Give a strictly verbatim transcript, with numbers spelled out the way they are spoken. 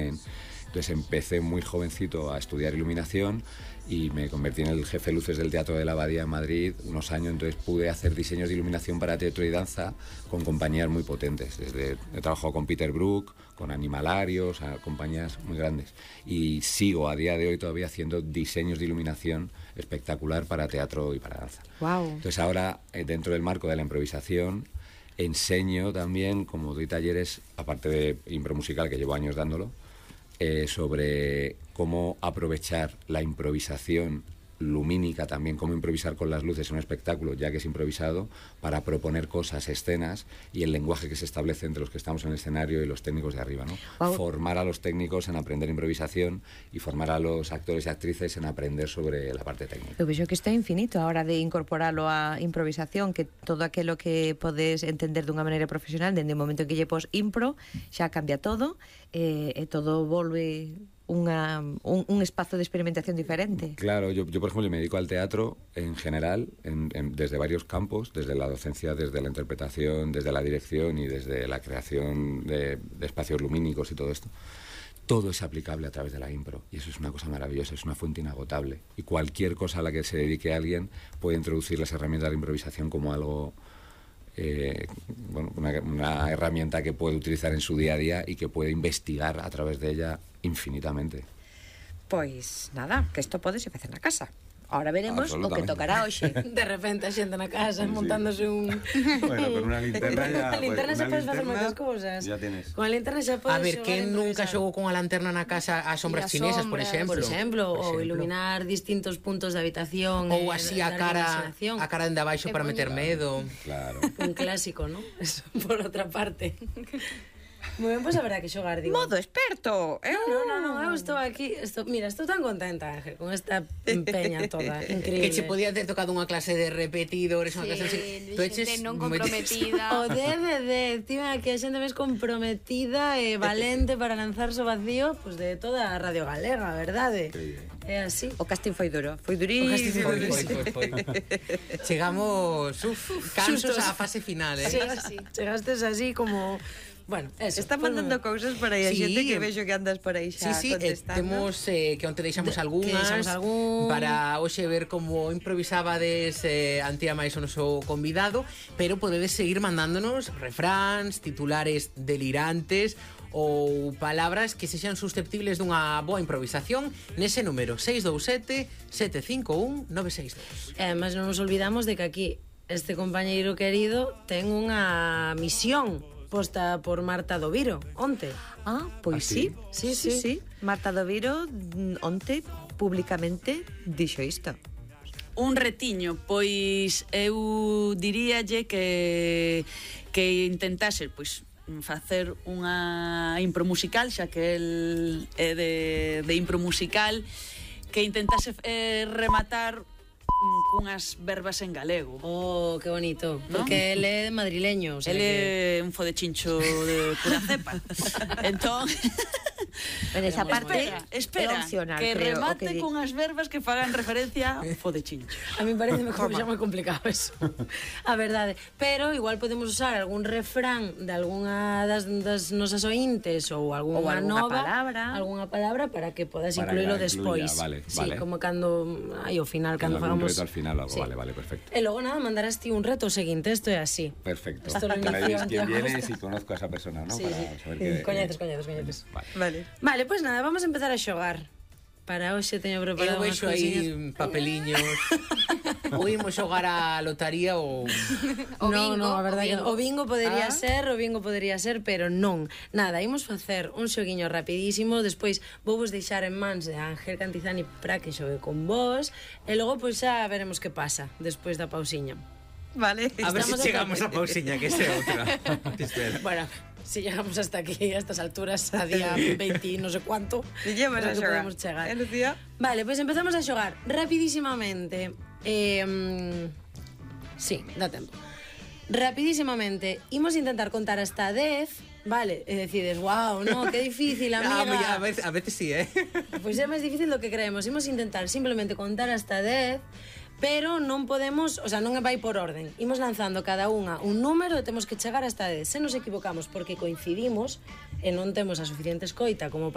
tienen. Entonces empecé muy jovencito a estudiar iluminación y me convertí en el jefe de luces del Teatro de la Abadía en Madrid unos años. Entonces pude hacer diseños de iluminación para teatro y danza con compañías muy potentes. Desde, he trabajado con Peter Brook, con Animalarios, a compañías muy grandes. Y sigo a día de hoy todavía haciendo diseños de iluminación espectacular para teatro y para danza. Wow. Entonces ahora, dentro del marco de la improvisación, enseño también, como doy talleres, aparte de impro musical, que llevo años dándolo, Eh, sobre cómo aprovechar la improvisación lumínica también, cómo improvisar con las luces en un espectáculo, ya que es improvisado, para proponer cosas, escenas y el lenguaje que se establece entre los que estamos en el escenario y los técnicos de arriba, ¿no? Wow. Formar a los técnicos en aprender improvisación y formar a los actores y actrices en aprender sobre la parte técnica. Eu vexo que está infinito a hora de incorporalo á improvisación, que todo aquilo que podes entender dunha maneira profesional, dende o momento en que lle pos impro, xa cambia todo, e, e todo volve Una, un, un espacio de experimentación diferente. Claro, yo, yo por ejemplo me dedico al teatro en general, en, en, desde varios campos, desde la docencia, desde la interpretación, desde la dirección y desde la creación de, de espacios lumínicos y todo esto. Todo es aplicable a través de la impro y eso es una cosa maravillosa, es una fuente inagotable. Y cualquier cosa a la que se dedique alguien puede introducir las herramientas de improvisación como algo... Eh, bueno, una, una herramienta que puede utilizar en su día a día y que puede investigar a través de ella infinitamente. Pois nada, que isto podese facer na casa. Ahora veremos o que tocará hoxe. De repente a xente na casa sí, montándose un... Bueno, con unha linterna ya... A linterna xa podes facer moitas cousas. Ya tienes. Con a linterna xa podes... A ver, que nunca xogou con a lanterna na casa as sombras chinesas, por exemplo? Por exemplo, ou iluminar distintos puntos da habitación. Ou así a cara a cara dende abaixo para meter medo. Claro. Un clásico, ¿no? Eso, por outra parte. Moi ben, pois haberá que xogar, digo. Modo experto. Eu non, non, non, eu estou aquí, estou, mira, estou tan contenta, Ángel, con esta peña toda, increíble. Que che podía ter tocado unha clase de repetidores, unha sí, clase así. Tu xente non comprometida. O D V D, tío, que a xente máis comprometida e valente para lanzarse ao vacío, pois pues de toda a Radio Galega, verdade? É así. O casting foi duro, foi durísimo. Foi, foi, foi, foi. Chegamos, uf, cansos á fase final, eh? Sí, sí. Chegastes así como... Bueno, eso, está mandando pues, cousas por aí a sí, xente que vexo que andas por aí xa sí, sí, contestando. Eh, temos eh, que onte deixamos algunhas algún... para hoxe ver como improvisabades eh, Antía máis o noso convidado, pero podedes seguir mandándonos refráns, titulares delirantes ou palabras que sexan susceptibles dunha boa improvisación nese número seis dous sete, sete cinco un, nove seis dous. E además non nos olvidamos de que aquí este compañeiro querido ten unha misión posta por Marta Doviro, onte. Ah, pois ¿Ah, sí? Sí, sí, sí, sí. Marta Doviro onte públicamente dixo isto. Un retiño, pois eu diríalle que que intentase, pois facer unha impro musical, xa que el é de, de impro musical, que intentase eh, rematar cunhas verbas en galego. Oh, que bonito, ¿no? Porque él é madrileño, o sea, él que... é un fodechincho de pura cepa. Entón, en esa parte espera, espera opcional, que creo, remate que cunhas verbas que fagan referencia a fodechincho. A mí parece mejor, xa moi complicado eso. A verdade, pero igual podemos usar algún refrán de algunha das, das nosas ointes ou algunha ou alguna nova, palabra, algunha palabra para que podas para incluílo que despois. Vale, sí, vale. como cando ai, ao final cando fagamos al final algo, sí. Vale, vale, perfecto. E logo nada, mandarás ti un reto seguinte, esto é así. Perfecto. Esto lo para ver inició quién Antía viene Costa. si conozco a esa persona, ¿no? Sí, para sí. saber que... Coñeces, coñeces, coñeces. Vale. Vale. Vale, pois pues nada, vamos a empezar a xogar. Para hoxe teño preparado eu unhas vexo aí cousiñas. papeliños. Ou imos xogar a lotaría ou... O no, bingo, no, a verdade o que bingo. o bingo podería Ah. ser, o bingo podería ser, pero non. Nada, imos facer un xoguiño rapidísimo, despois vou vos deixar en mans de Ángel Cantizani para que xogue con vos, e logo pois xa veremos que pasa despois da pausiña. Vale. A ver se Estamos chegamos a a pausiña, que ese outra. Bueno, si llegamos hasta aquí, a estas alturas, a día veinte no sé cuánto, Llevamos a creo que xogar. podemos chegar. Eh, Lucía? Vale, pois pues empezamos a xogar rapidísimamente. Eh, sí, dá tempo. Rapidísimamente, imos intentar contar hasta dez, vale, e decides, wow, no, que difícil, amiga. Ah, a, veces, a veces sí, eh. Pois é máis difícil do que creemos. Imos intentar simplemente contar hasta dez, pero non podemos, o sea, non vai por orden. Imos lanzando cada unha un número e temos que chegar hasta dez. Se nos equivocamos porque coincidimos e non temos a suficiente escoita como para